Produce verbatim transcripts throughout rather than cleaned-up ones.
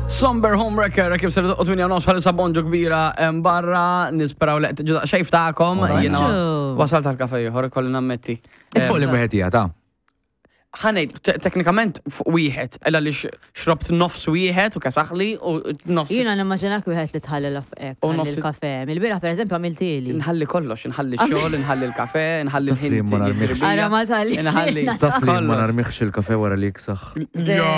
Somber Homewrecker, kif ser doqqu tmienja u nofs bħalissa, bonġu kbira em, barra, nisperaw li qed xejf tagħkom, jiena Bonġu. wasalt tal-kafe ieħor, kolli nammetti. Int fuq li wieħed hija ta' Ħa ngħid, te- teknikament fuq wieħed, illa li x- xrobt nofs wieħed u kesaħli u nofs. Jiena nimmaġinak wieħed li tħalli l-afqek, U tħalli nofs- l-kafe. Mill-bieraħ, per eżempju, għamiltieli. Nħalli kollox, nħalli xogħol, nħalli l-kafe, nħalli Taf li l-ħin ma narmix. Ara ma tħalli. Nħalli. Taf li ma Kollox. narmiħx il-kafe wara li jiksaħ. Vera.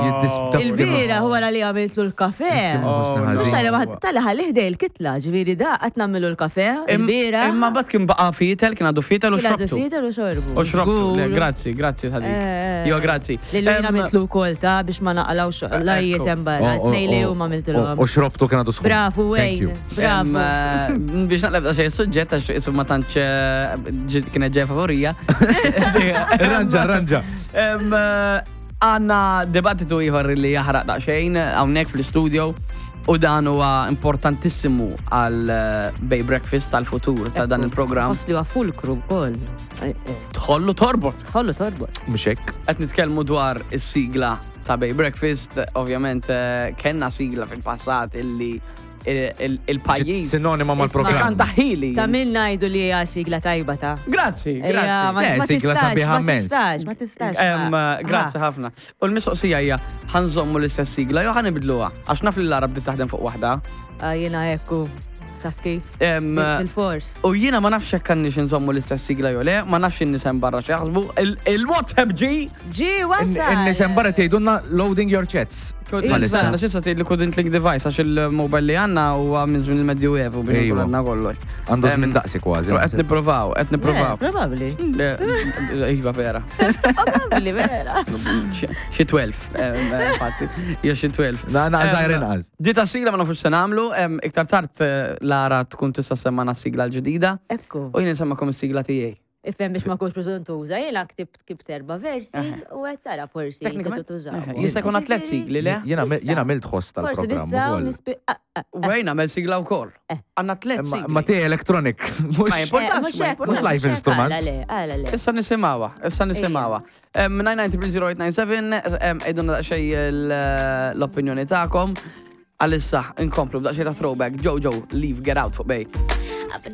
Jiddis- taf li ma- Il-bieraħ wara li għamiltlu l-kafe. Nħossni Oh, ħażin. Mux għalli maħad, tal ħalli ħdej il-kitla, ġifieri da, għat nagħmlu l-kafe, il-bieraħ. Imma bat kien baqa fitel, kien għadu fitel u Kien għadu xrobtu. fitel u xorbu. U xrobtu, le, Żgur. grazzi, grazzi ta' dik. Eh, Jo, grazzi. Lillu jina Em, għamiltlu kol ta' biex ma naqalawx lajiet hemm barra, Oh, oh, tnej li oh, huma għamiltulhom. U xrobtu kien għadu sħun. Brafu, Thank you. Wayne, brafu. Em, eh, Biex naqleb da xej suġġett, għax isu ma tantx eh, ġi- kienet ġeja favorija. Ranġa, ranġa. Em, eh, Għanna dibattitu ieħor li jaħraq daqsxejn hawnhekk fl-studio u dan huwa importantissimu għal eh, Bay Breakfast tal-futur ta' dan il-programm. Ħoss li huwa fulkru wkoll. Eh, eh, Tħollu torbot. Tħollu torbot. Mhux hekk. Qed nitkellmu dwar is-sigla ta' Bay Breakfast, ovvjament eh, kellna sigla fil-passat illi il- il- il-pajjiż Sinonima mal-programm. kanta ħili. Ta' min ngħidu li hija sigla tajba ta' Grazzi, Ejja, grazzi. ma Eh, ma sigla tistax, sabiħa ma immens. tistax, ma tistax. Em, ma- Grazzi Ah, ħafna. U l-mistoqsija hija, ħa nżommu l-istess sigla jew ħa nibdluha? Għax naf li l-Arab bdiet taħdem fuq waħda. ah, Jiena ekku, taf kif. Em, Bil-fors. U jiena ma nafx jekk għandniex nżommu l-istess sigla jew le, ma nafx in-nies hemm barra x'jaħsbu. Il- Il-WhatsApp ġi! Ġi, wasal. In-nies hemm barra tgħidulna "loading your chats". Bħalissa. Għanna xissa tgħid li couldn't link device għax il-mobile li għandna huwa minn żmien il-Medjuevu biex Ejwa. għandna kollox. Għandu Em, żmien daqsi kważi. Qed nippruvaw, qed nippruvaw. Eh, Probabbli. Le, iva vera. Probabbli, vera. Xi tnax, em, infatti, hija xi tnax. Na, na, Em, żgħir inqas. Di ta' sigla ma nafux se nagħmlu, em, iktar tard eh, Lara tkun tista' semmana s-sigla l-ġdida Ekku. u jien nsemmakom is-sigla tiegħi. Ifhem biex ma kunx preżentuża, jiena ktibt ktibt erba' versi u qed tara forsi Teknikament, tużaw. eh, jista' jkun tliet sigli, le? Jiena Jista'. jiena għamilt ħoss Forsi tal-programm nistgħu ukoll. nispi. ah, ah, U jien nagħmel sigla wkoll. Eh. Għandna tliet Ma sigli. ma tiegħi electronic. Mhux Ma importax, eh, mhux ma hekk, importax. Mhux live mhux hekk, instrument. Għala le, għala le. Issa nisimgħuha, issa nisimgħuha. nine nine zero eight nine seven, għidulna daqsxejn l-opinjoni tagħkom. Għalissa, inkomplu b'daqsxejn ta' throwback, Jojo, Leave, Get Out fuq Bay. I've been